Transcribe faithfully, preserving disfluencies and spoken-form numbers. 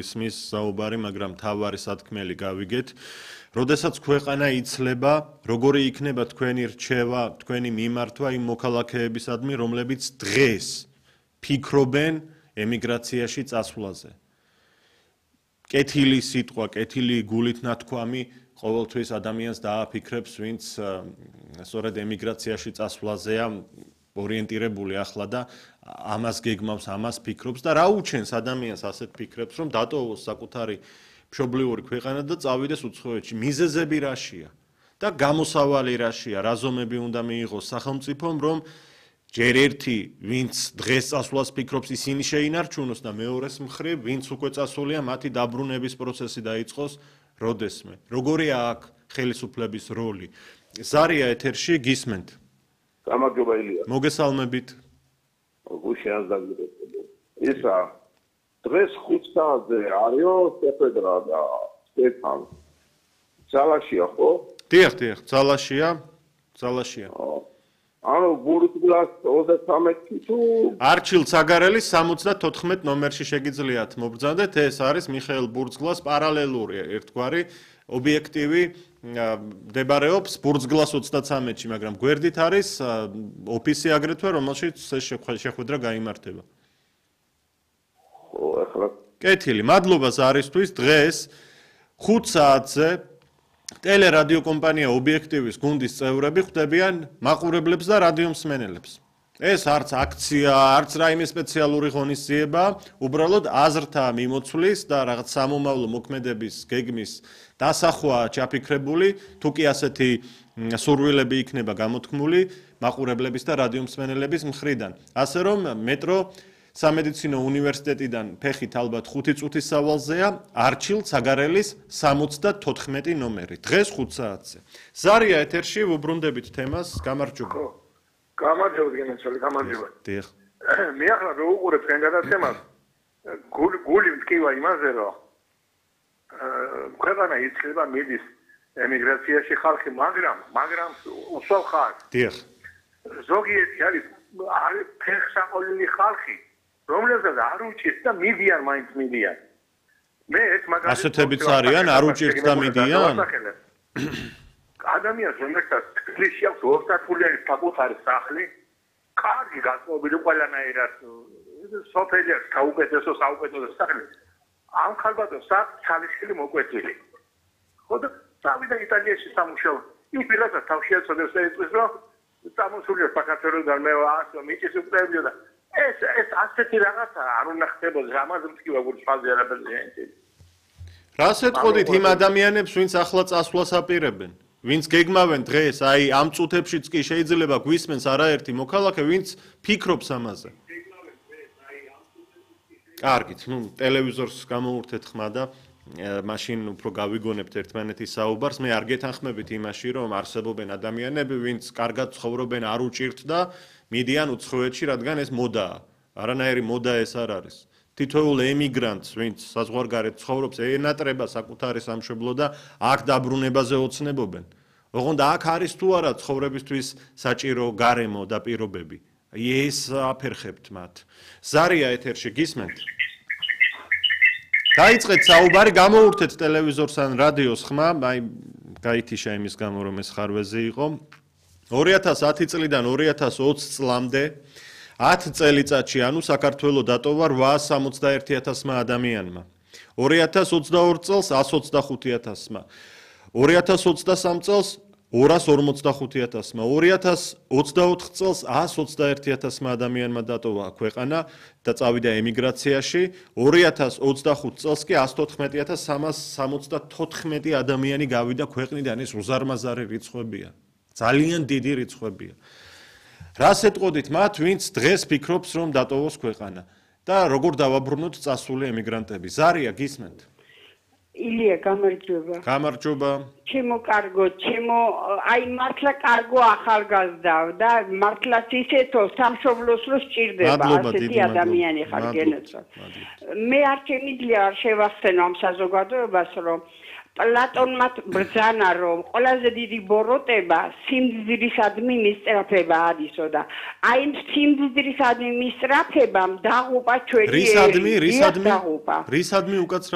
ისმის საუბარი, მაგრამ თავარი სათქმელი გავიგეთ. როდესაც ქვეყანა იცლება, როგორი იქნება თქვენი რჩევა, თქვენი მიმართვა იმ მოქალაქეებისადმი, რომლებიც დღეს ფიქრობენ ემიგრაციაში წასვლაზე. კეთილი სიტყვა, კეთილი გულით ნათქვამი ყოველთვის ადამიანს დააფიქრებს, ვინც სწორედ ემიგრაციაში წასვლაზეა ორიენტირებული ახლა და ამას გეგმავს, ამას ფიქრობს და რა უჩენს ადამიანს ასეთ ფიქრებს, რომ დატოვოს საკუთარი მშობლიური ქვეყანა და წავიდეს უცხოეთში. მიზეზები რაშია და გამოსავალი რაშია, რა ზომები უნდა მიიღოს სახელმწიფომ, რომ ჯერ ერთი, ვინც დღეს წასვლას ფიქრობს, ისინი შეინარჩუნოს და მეორეს მხრივ, ვინც უკვე წასულია, მათი დაბრუნების პროცესი დაიწყოს როდესმე. როგორია აქ ხელისუფლების როლი? ზარია ეთერში, გისმენთ. გამარჯობა ილია. მოგესალმებით. გუშინაც დაგიწყდა. ისა დღეს ხუთ საათზე არისო სეფედრა და სტეფან. ძალაშია ხო? დიახ, დიახ, ძალაშია, ძალაშია. ანუ ბურთგლას ოცდათვრამეტი თუ არჩილ ცაგარელის სამოცდათოთხმეტ ნომერში შეგიძლიათ მობრძანდეთ, ეს არის მიხეილ ბურთგლას პარალელური ერთგვარი ობიექტივი მდებარეობს ბურთგლას ოცდათვრამეტში, მაგრამ გვერდით არის ოფისი აგრეთვე, რომელშიც ეს შეხვედრა გაიმართება. ხო, ახლა კეთილი, მადლობა ზარისთვის. დღეს ხუთ საათზე ტელერადიო კომპანია ობიექტივის გუნდის წევრები ხვდებიან მაყურებლებს და რადიომსმენელებს. ეს არც აქცია, არც რაიმე სპეციალური ღონისძიება, უბრალოდ აზრთა მიმოცვლის და რაღაც სამომავლო მოქმედების გეგმის დასახვაა ჩაფიქრებული, თუ კი ასეთი სურვილები იქნება გამოთქმული მაყურებლების და რადიომსმენელების მხრიდან. ასე რომ მეტრო სამედიცინო უნივერსიტეტიდან ფეხით ალბათ ხუთი წუთის სავალზეა არჩილ ცაგარელის სამოცდათოთხმეტი ნომერი. დღეს ხუთ საათზე. ზარია ეთერში ვუბრუნდებით თემას, გამარჯობა. გამარჯობა გენაცვალე, გამარჯობა. დიახ. მე ახლა რო უყურებ თქვენ გადაცემას, გული მткиვა იმაზე, რომ ქვეყანა იცლება მიდის ემიგრაციაში ხალხი, მაგრამ მაგრამ უსვამ ხალხს. დიახ. ზოგიერთი არის არის ფეხსაყოლილი ხალხი, რომლებსაც არ უჭირთ და მიდიან მაინც მიდიან. მე ეს მაგალითად ასეთებიც არიან, არ უჭირთ და მიდიან? ადამიანს რომელსაც თბილისში აქვს ოცდათფულიანი საკუთარი სახლი, კარგი გასწავლილი ყველანაირად სოფელი აქვს საუკეთესო საუკეთესო სახლი. ამ ხალბატონს აქვს ძალისხილი მოკვეთილი. ხო და წავიდა იტალიაში სამუშაოდ. იმ პირადად თავში აწოდებს და იწვის, რომ წამოსულია საქართველოსგან მე ასო მიჭის უკრებიო და ეს ეს ასეთი რაღაცა არ უნდა ხდებოდეს, ამაზე მткиვა გული ფაზე არაფერზე. რას ეთყოდით იმ ადამიანებს, ვინც ახლა წასვლას აპირებენ? ვინც გეგმავენ დღეს, აი ამ წუთებშიც კი შეიძლება გვისმენს არაერთი მოქალაქე, ვინც ფიქრობს ამაზე. კარგით, ნუ ტელევიზორს გამოურთეთ ხმა და მაშინ უფრო გავიგონებთ ერთმანეთის საუბარს. მე არ გეთანხმებით იმაში, რომ არსებობენ ადამიანები, ვინც კარგად ცხოვრობენ, არ უჭირთ და მიდიან უცხოეთში, რადგან ეს მოდაა. არანაირი მოდა ეს არ არის. თითოეულ ემიგრანტს, ვინც საზღვარგარეთ ცხოვრობს, ენატრება საკუთარი სამშობლო და აქ დაბრუნებაზე ოცნებობენ. ოღონდ აქ არის თუ არა ცხოვრებისთვის საჭირო გარემო და პირობები. ეს აფერხებთ მათ. ზარია ეთერში, გისმენთ? დაიწყეთ საუბარი, გამოურთეთ ტელევიზორს ან რადიოს ხმა, აი გაითიშა იმის გამო, რომ ეს ხარვეზი იყო. ორი ათას ათი წლიდან ორი ათას ოცი წლამდე ათ წელიწადში, ანუ საქართველო დატოვა რვაას სამოცდაერთი ათასმა ადამიანმა. ორი ათას ოცდაორი წელს ას ოცდახუთი ათასმა. ორი ათას ოცდასამ წელს ორას ორმოცდახუთი ათასმა. ორი ათას ოცდაოთხ წელს ას ოცდაერთი ათასმა ადამიანმა დატოვა ქვეყანა და წავიდა ემიგრაციაში. ორი ათას ოცდახუთ წელს კი ას თოთხმეტი ათას სამას სამოცდათოთხმეტი ადამიანი გავიდა ქვეყნიდან. ეს უზარმაზარი რიცხვებია. ძალიან დიდი რიცხვებია. რას ეთყოდით მათ, ვინც დღეს ფიქრობს, რომ დატოვოს ქვეყანა და როგორ დავაბრუნოთ წასული ემიგრანტები? ზარია, გისმენთ? ილია, გამარჯობა. გამარჯობა. ჩემო კარგო, ჩემო აი მართლა კარგო ახალგაზრდა და მართლაც ისეთო სამშობლოს რო სჭირდება ასეთი ადამიანი ხარ გენაცვალ. მე არ შემიძლია არ შევახსენო ამ საზოგადოებას, რომ პლატონმა ბრძანა, რომ ყველაზე დიდი ბოროტება სიმდიდრისადმი მისწრაფება არისო და აი სიმდიდრისადმი მისწრაფებამ დაღუპა ჩვენი რისადმი, რისადმი, რისადმი უკაცრავ